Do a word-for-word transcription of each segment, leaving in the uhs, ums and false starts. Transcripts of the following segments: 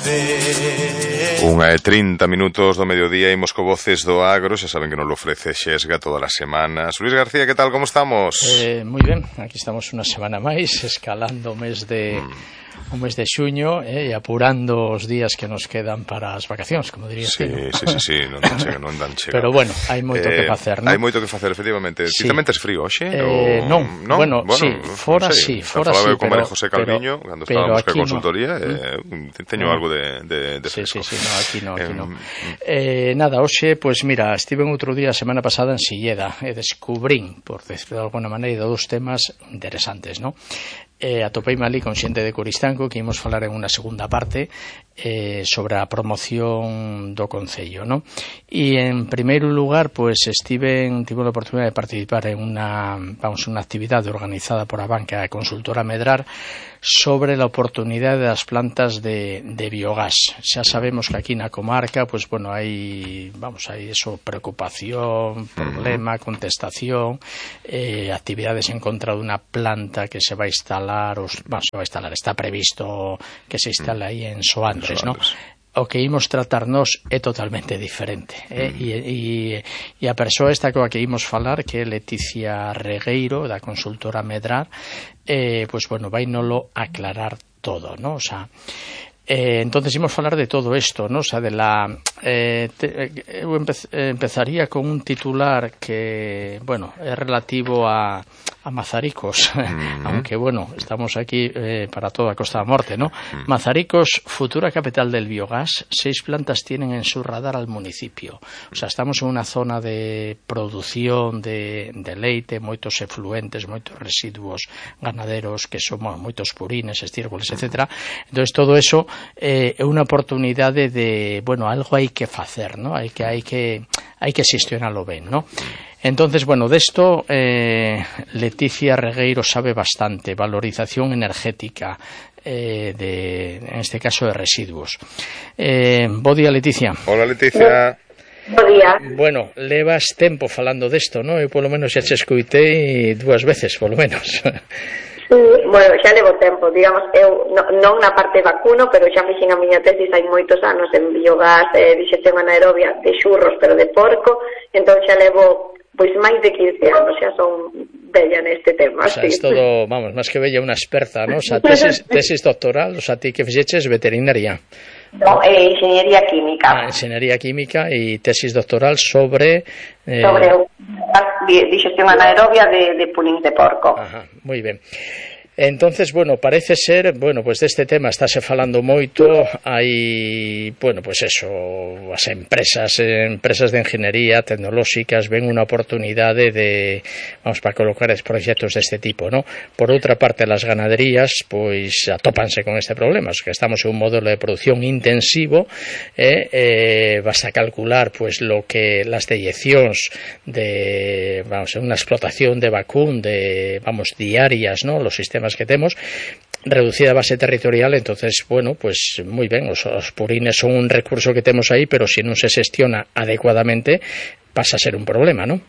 Unha e trinta minutos do mediodía, imos co Voces do Agro. Xa saben que nos lo ofrece Xesga todas as semanas. Luis García, que tal, como estamos? Eh, moi ben, aquí estamos unha semana máis, escalando o mes de... Mm. o mes de xuño eh, e apurando os días que nos quedan para as vacacións, como diría sí, ¿no? sí, sí, sí, non dan chega, non dan chega. Pero bueno, hai moito eh, que facer, non? Hai moito que facer, efectivamente. Sí. Ti tamén tes frío, hoxe? Eh, non, non, bueno, bueno, sí, fora sí, fora sí, con María José Calviño, pero, cando estábamos ca consultoría, no. eh, teño mm. algo de, de, de fresco. Sí, sí, sí, no, aquí no, aquí eh, no. Eh, nada, hoxe, pois pues mira, estive outro día, a semana pasada, en Silleda, e descubrín, por decirlo de alguna maneira, dous temas interesantes, non? Eh, atopeime ali con xente de Coristanco que imos falar en unha segunda parte eh, sobre a promoción do Concello, ¿no? E en primeiro lugar, pues estive en, tive a oportunidade de participar en unha, vamos, unha actividade organizada por a banca consultora Medrar sobre a oportunidade das plantas de, de biogás. Xa sabemos que aquí na comarca, pues bueno, hai, vamos, hai eso, preocupación, problema, contestación, eh, actividades en contra dunha planta que se vai instalar, os, bueno, se vai instalar, está previsto que se instale aí en Soandres, ¿no? O que imos tratarnos é totalmente diferente, eh? mm. e, e, e a persoa esta coa que imos falar, que é Leticia Regueiro, da consultora Medrar, eh, pues bueno, vai nolo aclarar todo, ¿no? O sea, Eh, entonces imos falar de todo isto, ¿no? O sea, de la eh, te, eu empez, eh, empezaría con un titular que, bueno, é relativo a, a Mazaricos, mm-hmm. aunque, bueno, estamos aquí eh, para toda Costa da Morte, ¿no? Mm. Mazaricos, futura capital del biogás, seis plantas tienen en su radar al municipio. O sea, estamos en unha zona de produción de, de leite, moitos efluentes, moitos residuos ganaderos, que son bueno, moitos purines, estiércoles, etcétera. Entonces, todo eso é eh, unha oportunidade de, bueno, algo hai que facer, ¿no? Hai que hai que hai que xestionalo ben, ¿no? Entonces, bueno, desto eh, Leticia Regueiro sabe bastante, valorización energética eh, de, en este caso, de residuos. Eh, bo día, Leticia. Hola, Leticia. Bo día. Bueno, levas tempo falando desto, ¿no? Eu polo menos xa che escoitei dúas veces, polo menos. Sí, bueno, xa levo tempo, digamos, eu no, non na parte vacuno, pero xa fixen a miña tesis hai moitos anos en biogás, eh, dixección anaerobia de xurros, pero de porco, entón xa levo pois máis de quince anos, xa son bella neste tema. O sea, sí. Es todo, vamos, máis que bella, unha experta, ¿no? O sea, tesis, tesis doctoral, o sea, ti que fixeches veterinaria. No, eh, ingeniería química. Ah, ingeniería química e tesis doctoral sobre... Eh... Sobre digestión anaerobia de, de purins de porco. Ajá, moi ben. Entonces, bueno, parece ser, bueno, pues deste tema estáse falando moito, hai, bueno, pues eso, as empresas, empresas de ingeniería tecnolóxicas ven unha oportunidade de, vamos, para colocar es proxectos deste tipo, ¿no? Por outra parte, las ganaderías, pois, atópanse con este problema, es que estamos en un modelo de producción intensivo, eh, eh, basta calcular, pues, lo que las deyeccións de, vamos, unha explotación de vacún, de, vamos, diarias, ¿no? Los sistemas que temos, reducida a base territorial, entonces, bueno, pues moi ben, os, os purines son un recurso que temos aí, pero se si non se xestiona adecuadamente, pasa a ser un problema, non?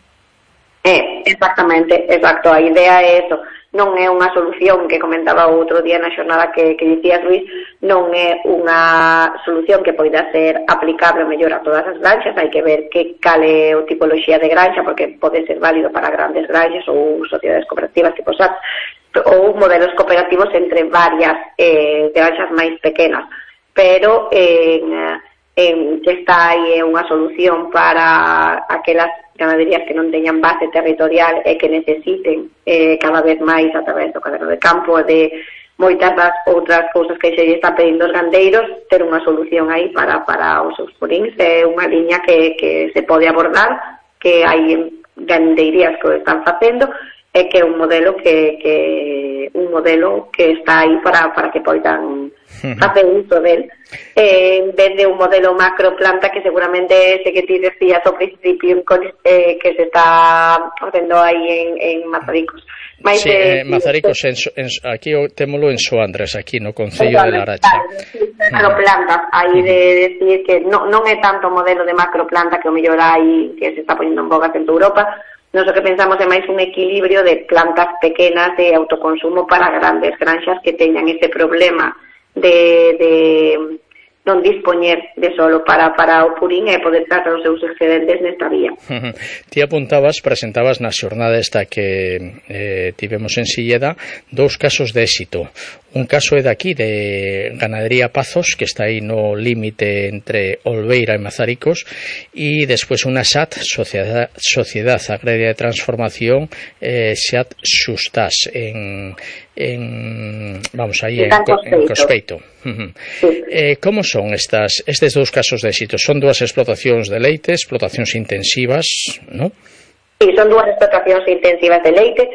Eh, exactamente, exacto, a idea é eso, non é unha solución que comentaba outro día na xornada que, que dicías, Luis, non é unha solución que poida ser aplicable mellor a todas as granxas, hai que ver que cale o tipoloxía de granxa, porque pode ser válido para grandes granxas ou sociedades cooperativas tipo S A T, ou modelos cooperativos entre varias eh, granxas máis pequenas, pero en, en que está aí unha solución para aquelas ganaderías que non teñan base territorial e que necesiten eh, cada vez máis a través do caderno de campo de moitas das outras cousas que se están pedindo os gandeiros, ter unha solución aí para, para os seus purins é unha liña que, que se pode abordar, que hai gandeirías que o están facendo, é que é un modelo que, que un modelo que está aí para, para que poidan facer uso del, eh, en vez de un modelo macroplanta que seguramente ese que ti decías ao principio eh, que se está facendo aí en, en Mazaricos. Mais, sí, eh, Mazaricos, en, en, aquí témolo en Soandres, aquí no Concello de Larache. Macroplantas, aí de decir que non, non é tanto modelo de macroplanta que o mellor hai que se está poniendo en boga en Europa. Nos o que pensamos é máis un equilibrio de plantas pequenas de autoconsumo para grandes granxas que teñan ese problema de, de, non dispoñer de solo para, para o purín e poder tratar os seus excedentes nesta vía. Ti apuntabas, presentabas na xornada esta que eh, tivemos en Silleda dous casos de éxito. Un caso é daqui de Ganadería Pazos, que está aí no límite entre Olveira e Mazaricos, e despois unha S A T, Sociedad, Sociedad Agraria de Transformación, eh, S A T Xustás, en, en vamos aí en, en Cospeito. Sí. Eh, como son estas estes dous casos de éxito? Son dúas explotacións de leite, explotacións intensivas, non? Sí, son dúas explotacións intensivas de leite.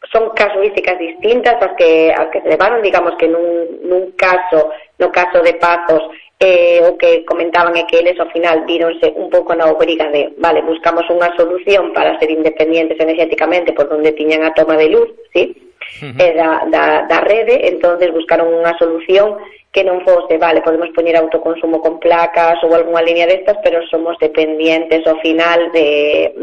Son casuísticas distintas as que, as que se levaron, digamos que nun, nun caso, no caso de Pazos, eh, o que comentaban é que eles ao final víronse un pouco na obriga de, vale, buscamos unha solución para ser independientes energéticamente por donde tiñan a toma de luz, ¿sí? Uh-huh. eh, da, da, da rede, entonces buscaron unha solución que non fose, vale, podemos poñer autoconsumo con placas ou algunha línea destas, pero somos dependientes ao final de,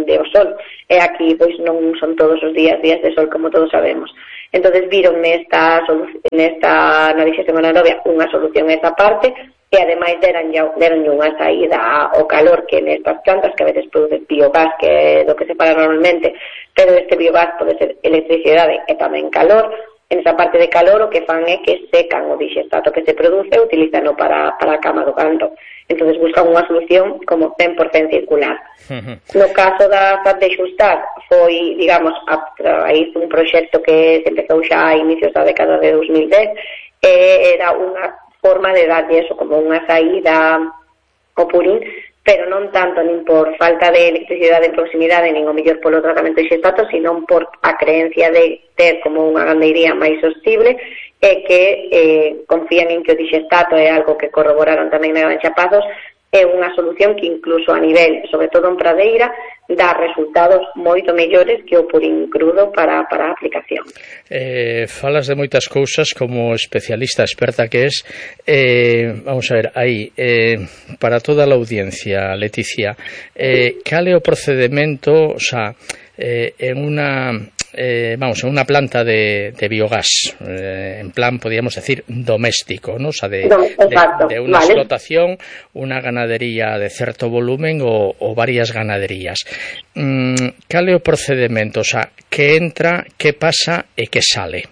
de o sol. E aquí, pois, non son todos os días días de sol, como todos sabemos. Entonces viron nesta, nesta na dixestión anaerobia unha solución a esa parte, e ademais deran, deran unha saída ao calor que nestas plantas, que a veces produce biogás, que é do que se fala normalmente, pero este biogás pode ser electricidade e tamén calor. En esa parte de calor o que fan é que secan o dixestato que se produce e utilizano para, para a cama do gando. Entonces buscan unha solución como cen por cento circular. Uh-huh. No caso da S A T de Xustás foi, digamos, a raíz dun proxecto que se empezou xa a inicios da década de dos mil dez, e era unha forma de darlle eso como unha saída ao purín, pero non tanto nin por falta de electricidade en proximidade, nin o mellor polo tratamento de xestato, sino por a creencia de ter como unha gandeiría máis sostible e que eh, confían en que o dixestato é algo que corroboraron tamén na Granxa Pazos, é unha solución que incluso a nivel, sobre todo en pradeira, dá resultados moito mellores que o purín crudo para, para a aplicación. Eh, falas de moitas cousas como especialista, experta que es. Eh, vamos a ver, aí, eh, para toda a audiencia, Leticia, eh, cal é o procedimento, o sea, eh, en unha... Eh, vamos, en unha planta de, de biogás, eh, en plan, podríamos decir, doméstico, ¿no? O sea, de, Exacto, de, de una vale. explotación, una ganadería de certo volumen o, o varias ganaderías. Mm, cal é o procedimento? O sea, que entra, que pasa e que sale?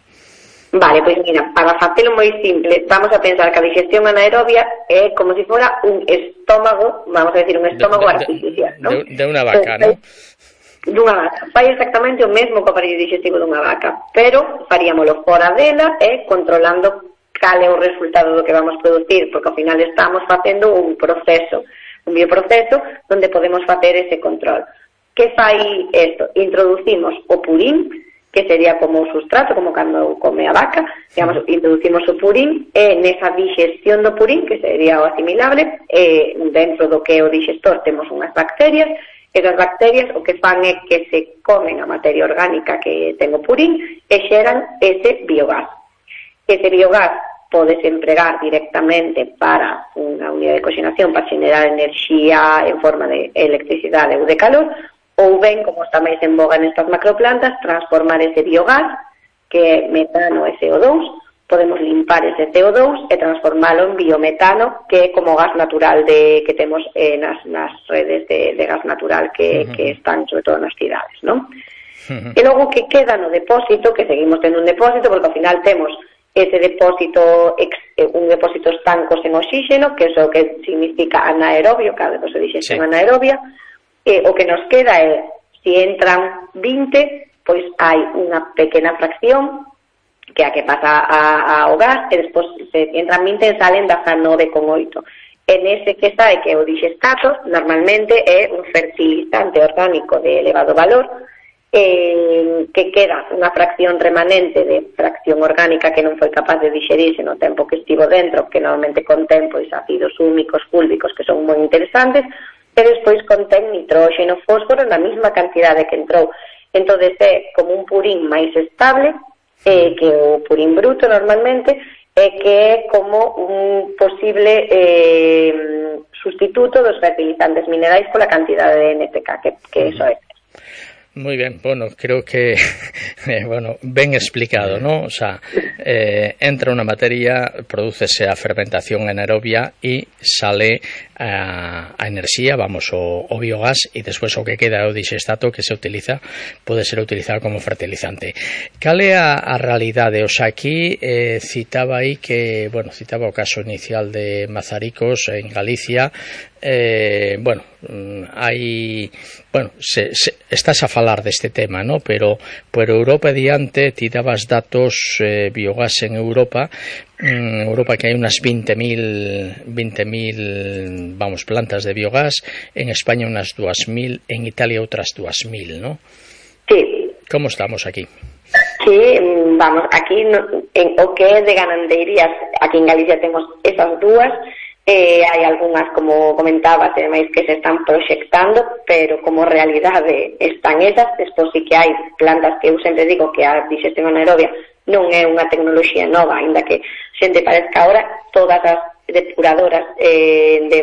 Vale, pois mira, para facelo moi simple, vamos a pensar que a digestión anaerobia é como se si fora un estómago, vamos a decir, un estómago de, de, artificial, ¿no? De, de unha vaca, Entonces, ¿no? Dunha vaca. Fai exactamente o mesmo co aparello digestivo dunha vaca, pero faríamolo fora dela e controlando cal é o resultado do que vamos producir, porque ao final estamos facendo un proceso, un bioproceso, onde podemos facer ese control. Que fai isto? Introducimos o purín, que sería como o sustrato, como cando come a vaca, digamos, introducimos o purín, e nesa digestión do purín, que sería o asimilable, e dentro do que é o digestor temos unhas bacterias. Esas bacterias o que fan é que se comen a materia orgánica que ten o purín e xeran ese biogás. Ese biogás podes empregar directamente para unha unidade de coxenación para xenerar enerxía en forma de electricidade ou de calor, ou ben, como está máis en boga nestas macroplantas, transformar ese biogás, que é metano e C O dous, podemos limpar ese C O dous e transformalo en biometano, que é como gas natural de que temos eh, nas, nas redes de, de gas natural que, uh-huh. que están sobre todo nas cidades, non? Uh-huh. E logo que queda no depósito, que seguimos tendo un depósito, porque ao final temos ese depósito, ex, un depósito estancos en oxígeno, que é o que significa anaerobio, cada vez se dixe sí. anaerobia, e o que nos queda é, se entran vinte, pois hai unha pequena fracción que a que pasa a, ao gas, e despois se entran vinte e salen dezanove coma oito. En ese que está, que é o dixestato, normalmente é un fertilizante orgánico de elevado valor, eh, que queda unha fracción remanente de fracción orgánica que non foi capaz de dixerirse no tempo que estivo dentro, que normalmente contén pois ácidos húmicos, fúlbicos, que son moi interesantes, e despois contén nitróxeno, fósforo na mesma cantidade que entrou. Entón é como un purín máis estable, Eh, que o purín bruto normalmente, é eh, que é como un posible eh, sustituto dos fertilizantes minerais pola cantidade de N P K que, que eso é. Muy bien, bueno, creo que eh, bueno, ben explicado, ¿no? O sea, eh, entra una materia, prodúcese a fermentación anaerobia e sale a, a enerxía, vamos, o, o biogás, e despois o que queda é o dixestato que se utiliza, pode ser utilizado como fertilizante. Cal é a, a realidade? O sea, aquí eh, citaba aí que, bueno, citaba o caso inicial de Mazaricos en Galicia. Eh, bueno, hai, bueno, se, se, estás a falar deste tema, ¿no? Pero por Europa diante ti dabas datos eh, biogás en Europa, en Europa que hai unas veinte mil, vamos, plantas de biogás, en España unas dos mil, en Italia outras dos mil, ¿no? Sí. Como estamos aquí? Sí, vamos, aquí no, en o que é de gandeirías, aquí en Galicia temos esas dúas. Eh, hai algunhas, como comentabas, ademais que se están proxectando, pero como realidade están esas. Despois sí que hai plantas que eu sempre digo que a digestión anaerobia non é unha tecnoloxía nova, ainda que xente parezca ahora. Todas as depuradoras eh, de,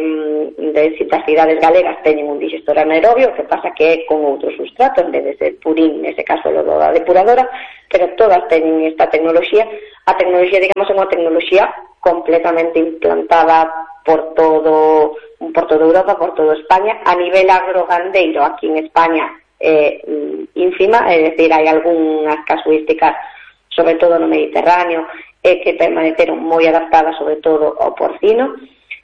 de das cidades galegas teñen un digestor anaerobio, que pasa que é con outro sustrato, en vez de ser purín, nese caso logo da depuradora, pero todas teñen esta tecnoloxía. A tecnoloxía, digamos, é unha tecnoloxía completamente implantada por todo por toda Europa, por toda España. A nivel agrogandeiro, aquí en España, é eh, ínfima, é dicir, hai algunhas casuísticas, sobre todo no Mediterráneo, eh, que permaneceron moi adaptadas, sobre todo ao porcino,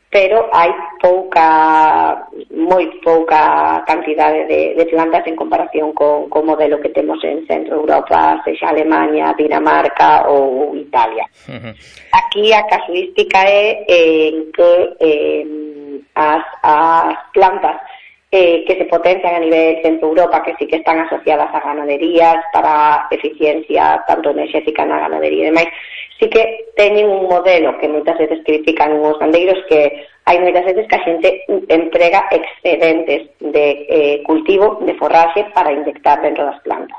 pero hai pouca, moi pouca cantidade de, de plantas en comparación con o modelo que temos en Centro Europa, sexa Alemania, Dinamarca ou Italia. Uh-huh. Aquí a casuística é eh, que eh, as, as plantas eh, que se potencian a nivel Centro Europa, que sí que están asociadas a ganaderías para eficiencia tanto enerxética na ganadería e demais, sí que teñen un modelo que moitas veces critican os gandeiros, que hai moitas veces que a xente emprega excedentes de eh, cultivo, de forraxe, para inyectar dentro das plantas.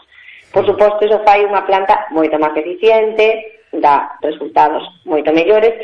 Por suposto, iso fai unha planta moito máis eficiente, dá resultados moito mellores,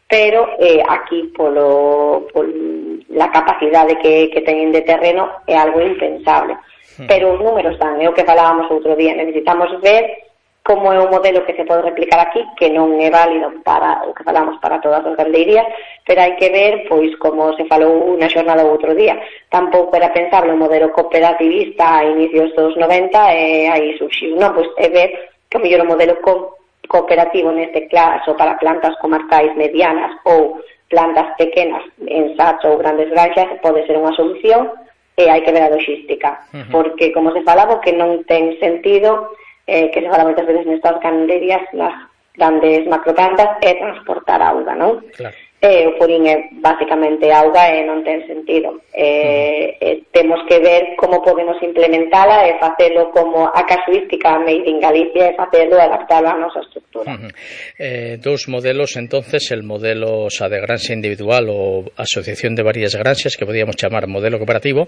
pero eh, aquí polo, polo la capacidade que, que teñen de terreno é algo impensable. Pero os números dan, é o que falábamos outro día, necesitamos ver como é un modelo que se pode replicar aquí, que non é válido para o que falamos para todas as gandeirías, pero hai que ver, pois, como se falou na xornada outro día, tampouco era pensable un modelo cooperativista a inicios dos noventa, e aí surxiu, non, pois é ver que o mellor o modelo co cooperativo neste caso para plantas comarcais medianas ou plantas pequenas en sacho ou grandes granxas pode ser unha solución, e hai que ver a logística, uh-huh. porque, como se falaba, que non ten sentido eh, que se fala moitas veces nestas gandeirías, nas grandes macroplantas, é transportar auga, non? Claro. Eh, o purín é basicamente auga e non ten sentido. Eh, uh-huh. eh, temos que ver como podemos implementala e facelo como a casuística made in Galicia, e facelo e adaptalo a nosa estructura. Uh-huh. Eh, dous modelos, entonces, el modelo, o sea, de granxa individual ou asociación de varias granxas, que podíamos chamar modelo cooperativo,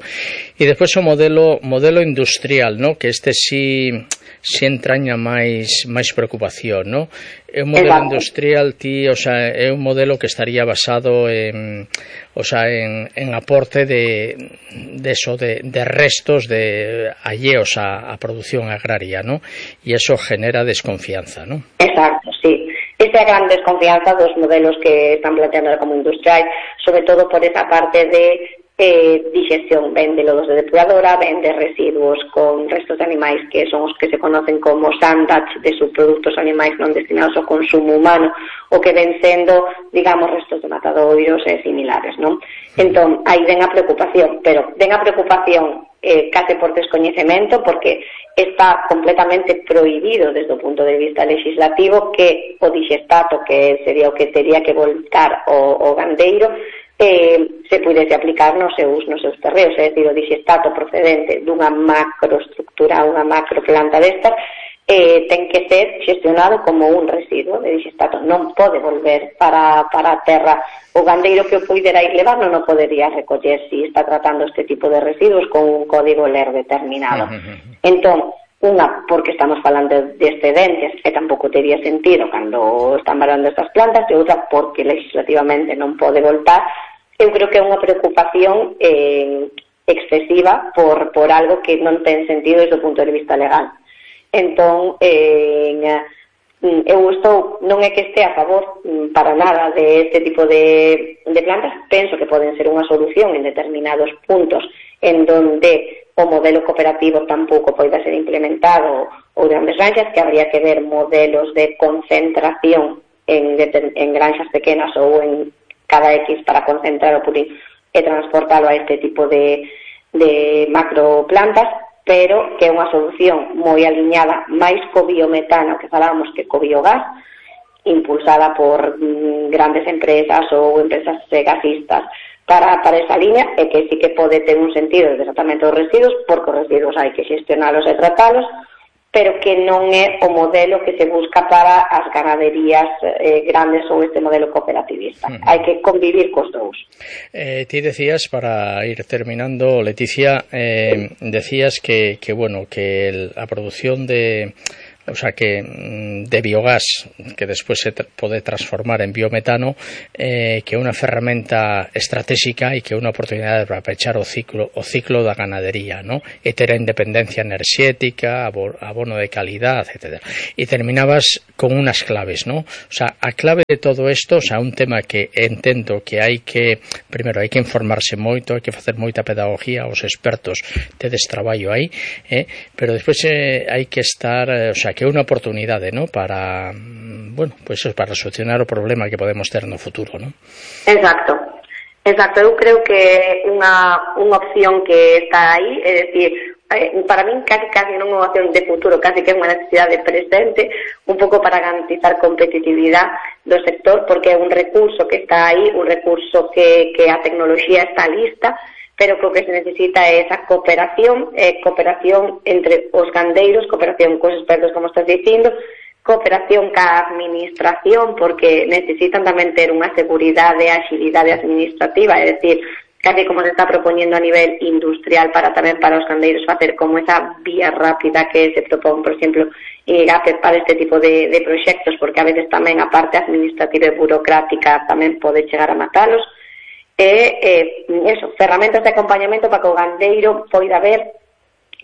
e despois o modelo modelo industrial, ¿no? Que este sí si entraña máis máis preocupación, ¿no? É un modelo Exacto. industrial, ti, o sea, é un modelo que estaría basado en, o sea, en, en aporte de, de eso, de, de restos de alleos a, a producción agraria, ¿no? E eso genera desconfianza, ¿no? Exacto, sí. Esta é a gran desconfianza dos modelos que están planteando como industrial, sobre todo por esa parte de eh, digestión, ven de lodos de depuradora, ven de residuos con restos de animais que son os que se conocen como sandats de subproductos animais non destinados ao consumo humano, o que ven sendo, digamos, restos de matadoiros e similares, non? Entón, aí ven a preocupación, pero ven a preocupación eh, case por descoñecemento, porque está completamente prohibido desde o punto de vista legislativo que o digestato, que sería o que tería que voltar o, o gandeiro, eh, se pudese aplicar nos seus, nos seus terreos, é dicir, o digestato procedente dunha macroestructura, unha macroplanta destas, eh, ten que ser xestionado como un residuo de digestato, non pode volver para, para a terra. O gandeiro que o poidera ir levar non o podería recoller se si está tratando este tipo de residuos con un código L E R determinado. Entón, unha, porque estamos falando de excedentes e tampouco teria sentido cando están valando estas plantas, e outra, porque legislativamente non pode voltar. Eu creo que é unha preocupación eh, excesiva por, por algo que non ten sentido desde o punto de vista legal. Entón, eh, eu estou, non é que este a favor para nada de este tipo de, de plantas, penso que poden ser unha solución en determinados puntos en donde o modelo cooperativo tampouco poida ser implementado ou grandes granxas, que habría que ver modelos de concentración en, en granxas pequenas ou en cada X para concentrar o purín e transportalo a este tipo de, de macroplantas, pero que é unha solución moi aliñada máis co biometano que falábamos que co biogás, impulsada por mm, grandes empresas ou empresas gasistas para, para esa liña, e que sí que pode ter un sentido de tratamento dos residuos, porque os residuos hai que xestionalos e tratalos, pero que non é o modelo que se busca para as ganaderías eh, grandes ou este modelo cooperativista. Uh-huh. Hai que convivir cos dous. Eh, ti decías, para ir terminando, Leticia, eh, decías que, que bueno, que el, a produción de... O sea, que de biogás, que después se pode transformar en biometano, eh, que é unha ferramenta estratégica e que é unha oportunidade para pechar o ciclo o ciclo da ganadería, ¿no? E ter a independencia enerxética, abono de calidad, etcétera. E terminabas con unas claves, ¿no? O sea, a clave de todo isto, o sea, un tema que entendo que hai que, primeiro, hai que informarse moito, hai que facer moita pedagogía, os expertos tedes traballo aí, eh? Pero despois eh, hai que estar, eh, o sea, que é unha oportunidade, ¿no? Para, bueno, pues para solucionar o problema que podemos ter no futuro, ¿no? Exacto. Exacto, eu creo que é unha, unha opción que está aí, é dicir, para min casi, casi non é unha opción de futuro, casi que é unha necesidade presente, un pouco para garantizar competitividade do sector, porque é un recurso que está aí, un recurso que, que a tecnoloxía está lista, pero o que se necesita é esa cooperación, eh, cooperación entre os gandeiros, cooperación cos expertos, como estás dicindo, cooperación ca administración, porque necesitan tamén ter unha seguridade e agilidade administrativa, é dicir, casi como se está propoñendo a nivel industrial para tamén para os gandeiros facer como esa vía rápida que se propón, por exemplo, en I G A P para este tipo de, de proxectos, porque a veces tamén a parte administrativa e burocrática tamén pode chegar a matalos. E eh, eso, ferramentas de acompañamento para que o gandeiro poida ver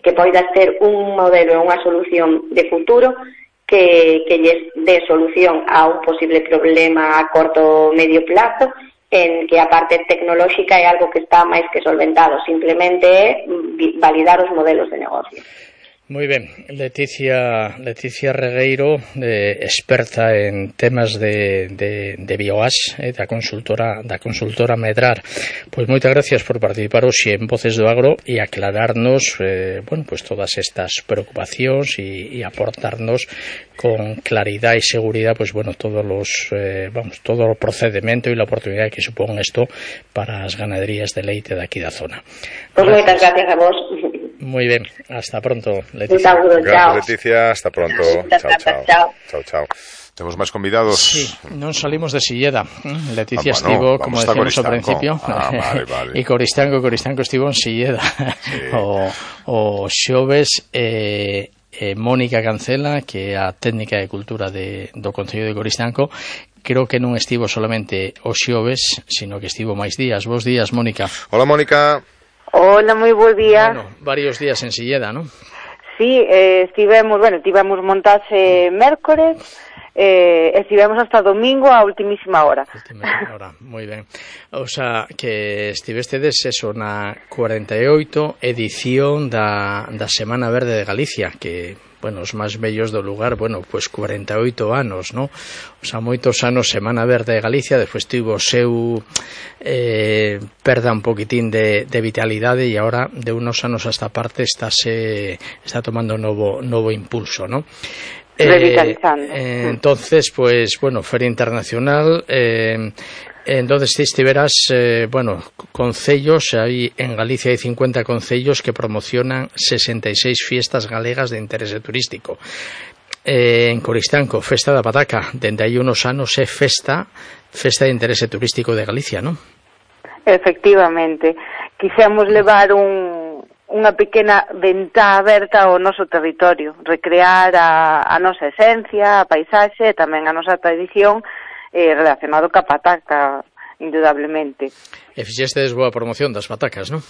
que poida ser un modelo e unha solución de futuro que, que lles dé solución a un posible problema a corto o medio plazo, en que a parte tecnolóxica é algo que está máis que solventado, simplemente é validar os modelos de negocio. Moi ben, Leticia, Leticia Regueiro, eh, experta en temas de, de, de biogás, eh, da consultora da consultora Medrar. Pois moitas gracias por participar hoxe en Voces do Agro e aclararnos, eh, bueno, pues todas estas preocupacións e, e aportarnos con claridad e seguridad, pues bueno, todos los, eh, vamos, todo o procedimento e a oportunidade que supón isto para as ganaderías de leite daqui da zona. Pois moitas gracias a vos. Muy bien, hasta pronto, Leticia. Saludo, gracias, Leticia, hasta pronto. Chao, chao. Chao, chao. chao. Temos máis convidados. Sí, non salimos de Silleda. Leticia ah, bueno, estivo, como decíamos ao principio, ah, vale, vale. e Coristanco, Coristanco estivo en Silleda. Sí. o, o xoves eh, eh, Mónica Cancela, que é a técnica de cultura de, do Concello de Coristanco, creo que non estivo solamente o xoves, sino que estivo máis días. Bos días, Mónica. Hola, Mónica. Hola, moi bo día. Bueno, varios días en Silleda, ¿no? Sí, eh, estivemos, bueno, tivemos montaxe mércores, eh, estivemos hasta domingo a ultimísima hora. Ultimísima hora, moi ben. O sea, que estivestedes eso na cuarenta e oito edición da, da Semana Verde de Galicia, que, bueno, os máis bellos do lugar, bueno, pues cuarenta e oito anos, ¿no? O sea, moitos anos Semana Verde de Galicia, despois tivo o seu eh, perda un poquitín de, de vitalidade e agora de unos anos a esta parte estáse, está tomando novo, novo impulso, ¿no? Revitalizando. Eh, eh, entonces, pues, bueno, Feria Internacional, eh, entonces ti estiveras, eh, bueno, concellos, aí en Galicia hai cincuenta concellos que promocionan sesenta e seis fiestas galegas de interese turístico. Eh, en Coristanco, Festa da Pataca, dende hai unos anos é festa, festa de interese turístico de Galicia, non? Efectivamente, quixemos levar un, unha pequena ventá aberta ao noso territorio, recrear a, a nosa esencia, a paisaxe e tamén a nosa tradición eh, relacionado ca pataca, indudablemente. E fixestes boa promoción das patacas, non?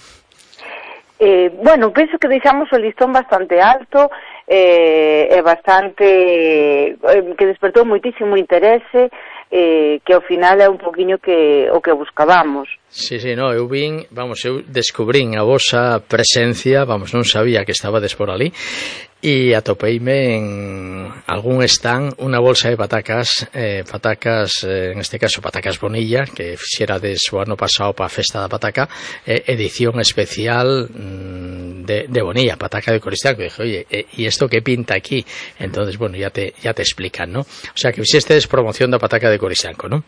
Eh, bueno, penso que deixamos o listón bastante alto eh, e bastante eh, que despertou moitísimo interese, eh, que ao final é un poquinho que o que buscábamos. Sí, sí, no, eu vin, vamos, eu descubrín a vosa presencia, vamos, non sabía que estabades por ali, e atopeime en algún stand unha bolsa de patacas, eh, patacas, eh, en este caso patacas Bonilla, que fixerades o ano pasado para a festa da pataca, eh, edición especial mm, de, de Bonilla, pataca de Coristanco. E dije, oye, e eh, isto que pinta aquí? Entonces, bueno, ya te, ya te explican, ¿no? O sea, que fixestes promoción da pataca de Coristanco, ¿no?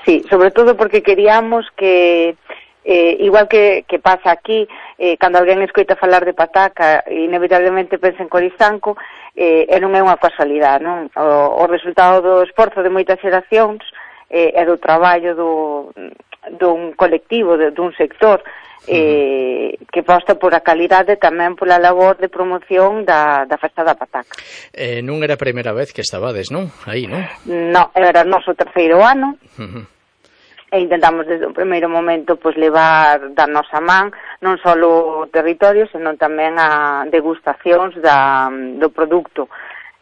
Sí, sobre todo porque queríamos que Eh, igual que, que pasa aquí, eh, cando alguén escoita falar de pataca, inevitablemente pensa en Coristanco, eh, e non é unha casualidade, non? O, o resultado do esforzo de moitas xeracións eh, e do traballo do, dun colectivo, de, dun sector eh, que aposta por a calidade tamén pola labor de promoción da, da festa da pataca. Eh, non era a primeira vez que estabades, non? Aí, non? Non, era o noso terceiro ano. Uh-huh. E intentamos desde o primeiro momento pois levar da nosa man non só o territorio, senón tamén a degustacións da, do produto,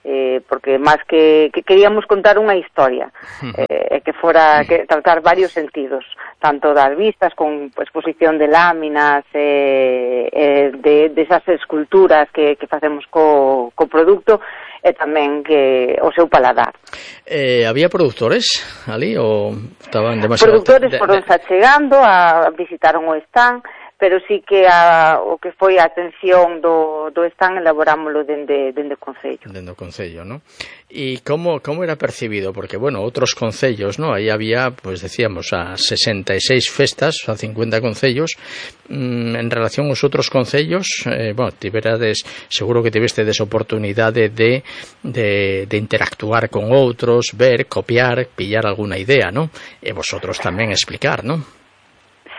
eh, porque máis que, que queríamos contar unha historia, eh, que fora que tratar varios sentidos, tanto das vistas con exposición de láminas, eh, eh, de, de esas esculturas que, que facemos co, co produto, e tamén que o seu paladar. Eh, había produtores ali ou estaban demasiado... Produtores foron xa chegando, a visitaron o stand, pero sí que a, o que foi a atención do, do stand elaborámoslo dende, dende o Concello. Dende o Concello, ¿no? E como, como era percibido? Porque, bueno, outros concellos, ¿no? Aí había, pues decíamos, a sesenta e seis festas, a cincuenta concellos. Mm, en relación aos outros concellos, eh, bueno, tiverades, seguro que tivestedes oportunidade de, de, de interactuar con outros, ver, copiar, pillar alguna idea, ¿no? E vosotros tamén explicar, ¿no?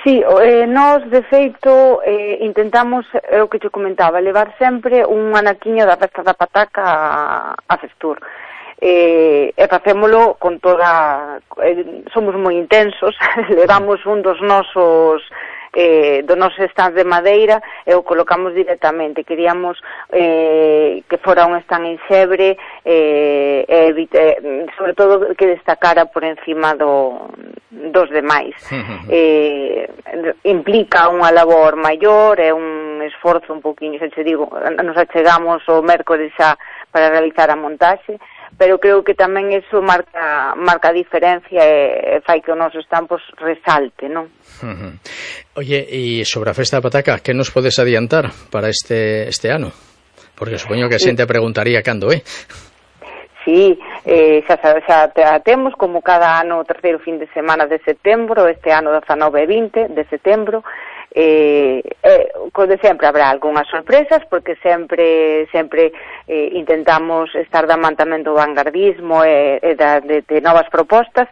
Sí, eh, nós, de feito, eh, intentamos, é o que te comentaba, levar sempre un anaquiño da festa da pataca a, a Festur. Eh, e facémolo con toda... Eh, somos moi intensos, levamos un dos nosos... Eh, do noso stand de madeira e o colocamos directamente. Queríamos eh, que fora un stand en xebre, eh, evite, sobre todo que destacara por encima do, dos demais. eh, implica unha labor maior, é un esforzo un poquinho, xa te digo, nos achegamos o mércores xa para realizar a montaxe, pero creo que tamén eso marca marca a diferencia e, e fai que o noso stand pues, resalte, non? Uh-huh. Oye, e sobre a festa da pataca, que nos podes adiantar para este este ano? Porque supoño que a xente preguntaría cando é. Sí, eh, xa, xa, xa temos como cada ano o terceiro fin de semana de setembro, este ano dezanove e vinte de setembro. Eh, eh, como de sempre habrá algunhas sorpresas, porque sempre sempre eh, intentamos estar da man tamén do vanguardismo e, e da, de, de novas propostas,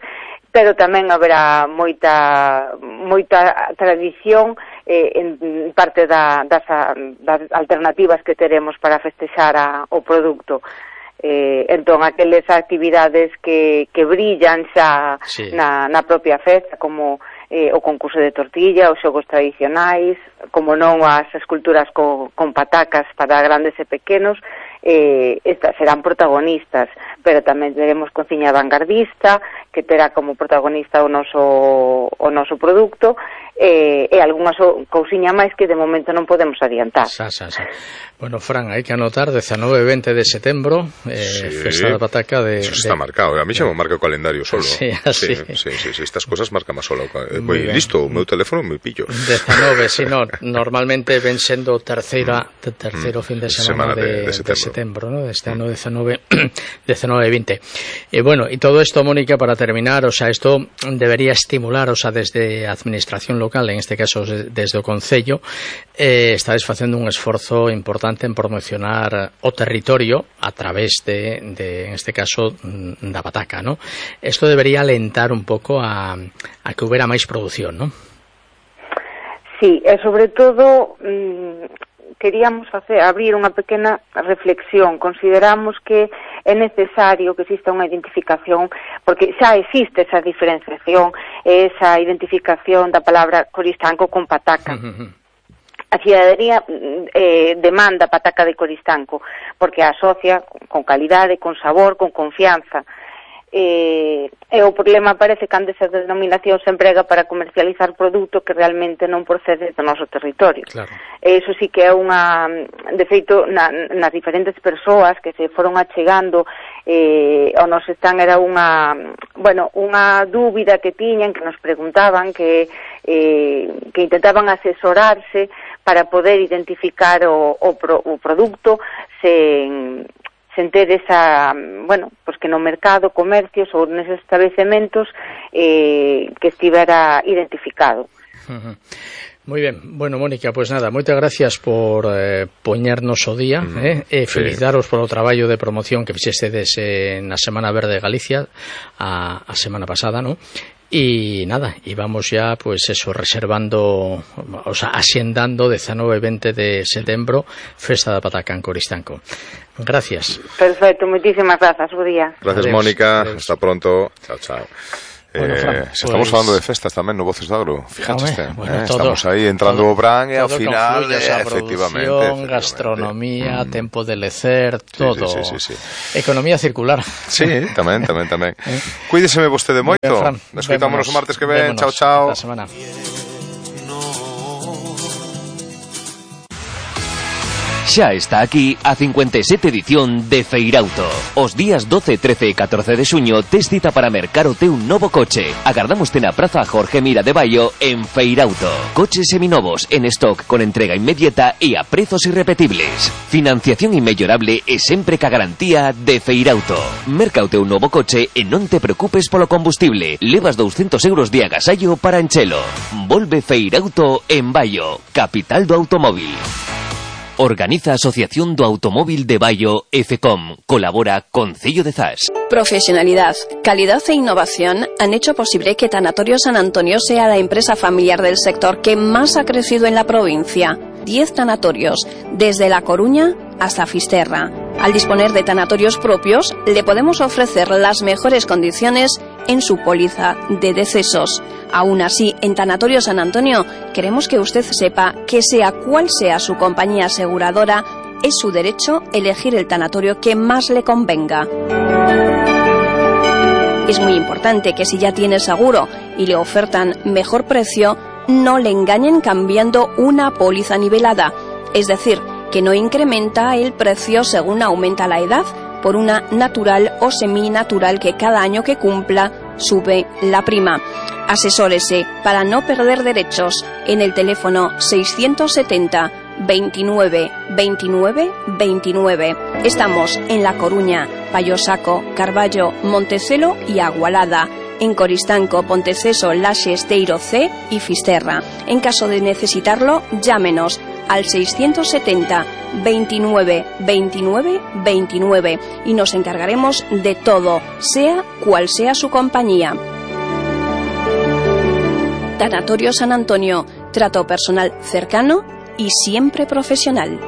pero tamén haberá moita moita tradición eh, en parte da, das, das alternativas que teremos para festexar a, o produto. Eh, entón, aqueles actividades que, que brillan xa sí. na, na propia festa, como eh, o concurso de tortilla, os xogos tradicionais, como non as esculturas co, con patacas para grandes e pequenos, eh, estas serán protagonistas, pero tamén teremos cociña vanguardista, que terá como protagonista o noso, o noso produto, eh, e algunha so, cousiña máis que de momento non podemos adiantar. Sa, sa, sa. Bueno, Fran, hai que anotar dezanove e vinte de setembro, eh, sí, festa da pataca de... Eso está de, marcado, a mí xa me marca o calendario solo. Sí, así. Sí, sí, sí, sí, estas cosas marca máis solo. Moi listo, o meu teléfono moi pillo. dezanove, si no, normalmente ven sendo terceira, terceiro fin de semana, semana de, de, de setembro, de setembro, ¿no? Este ano dezanove e vinte. E bueno, e todo isto, Mónica, para terminar, o sea, isto debería estimular, o sea, desde a administración local, en este caso desde o Concello, eh, estáis facendo un esforzo importante en promocionar o territorio a través de, de en este caso, da pataca, ¿no? Esto debería alentar un pouco a, a que hubiera máis produción, ¿no? Sí, e sobre todo mmm, queríamos facer, abrir unha pequena reflexión. Consideramos que é necesario que exista unha identificación, porque xa existe esa diferenciación, esa identificación da palabra Coristanco con pataca. a cidadanía eh, demanda pataca de Coristanco, porque a asocia con calidade, con sabor, con confianza. Eh, e o problema aparece cando esa denominación se emprega para comercializar produto que realmente non procede do noso territorio. Claro. E iso sí que é unha, de feito, na, nas diferentes persoas que se foron achegando eh, ao nos están era unha, bueno, unha dúbida que tiñan, que nos preguntaban, que eh, que intentaban asesorarse para poder identificar o, o, pro, o produto sen sen ter esa, bueno, pues que no mercado, comercios ou neses establecementos eh, que estivera identificado. Uh-huh. Moi ben, bueno, Mónica, pois pues nada, moitas gracias por eh, poñernos o día, mm, eh, e felicitaros sí. polo traballo de promoción que fixestedes eh, na Semana Verde de Galicia a, a semana pasada, ¿no? Y nada, y vamos ya, pues eso, reservando, o sea, asiendando diecinueve y veinte de setembro, Festa da Pataca en Coristanco. Gracias. Perfecto, muchísimas gracias, buen día. Gracias, adiós, Mónica, adiós. Hasta pronto. Chao, chao. Bueno, Fran, eh, pues... Estamos falando de festas tamén no Voces do Agro. Fíjate, este, bueno, eh, todo, estamos aí entrando o Bran e ao final, eh, efectivamente, efectivamente. Gastronomía, mm. tempo de lecer, todo. Sí, sí, sí, sí, sí. Economía circular. Sí, tamén, tamén, tamén. eh? Cuídeseme vostede moito. Nos escoitamos o martes que ven. Chao, chao. Esta semana. Xa está aquí a cincuenta e sete edición de Feirauto. Os días doce, trece e catorce de xuño tes cita para mercar o teu novo coche. Agardámoste na Praza Jorge Mira de Baio en Feirauto. Coches seminovos en stock con entrega inmediata e a prezos irrepetibles. Financiación inmellorable e sempre ca garantía de Feirauto. Merca o teu novo coche e non te preocupes polo combustible. Levas doscientos euros de agasallo para enchelo. Volve Feirauto en Baio, capital do automóvil. Organiza Asociación do Automóvil de Baio e FECOM. Colabora Concello de Zas. Profesionalidad, calidad e innovación han hecho posible que Tanatorio San Antonio sea la empresa familiar del sector que más ha crecido en la provincia. Diez tanatorios, desde La Coruña hasta Fisterra. Al disponer de tanatorios propios, le podemos ofrecer las mejores condiciones en su póliza de decesos. Aún así, en Tanatorio San Antonio, queremos que usted sepa que sea cual sea su compañía aseguradora, es su derecho elegir el tanatorio que más le convenga. Es muy importante que si ya tiene seguro y le ofertan mejor precio, no le engañen cambiando una póliza nivelada, es decir, que no incrementa el precio según aumenta la edad por una natural o seminatural que cada año que cumpla sube la prima. Asesórese para no perder derechos en el teléfono seiscientos setenta, veintinueve, veintinueve, veintinueve. Estamos en La Coruña, Payosaco, Carballo, Montecelo y Agualada. En Coristanco, Ponteceso, Laxe, Esteiro C y Fisterra. En caso de necesitarlo, llámenos al seiscientos setenta, veintinueve, veintinueve, veintinueve y nos encargaremos de todo, sea cual sea su compañía. Tanatorio San Antonio, trato personal cercano y siempre profesional.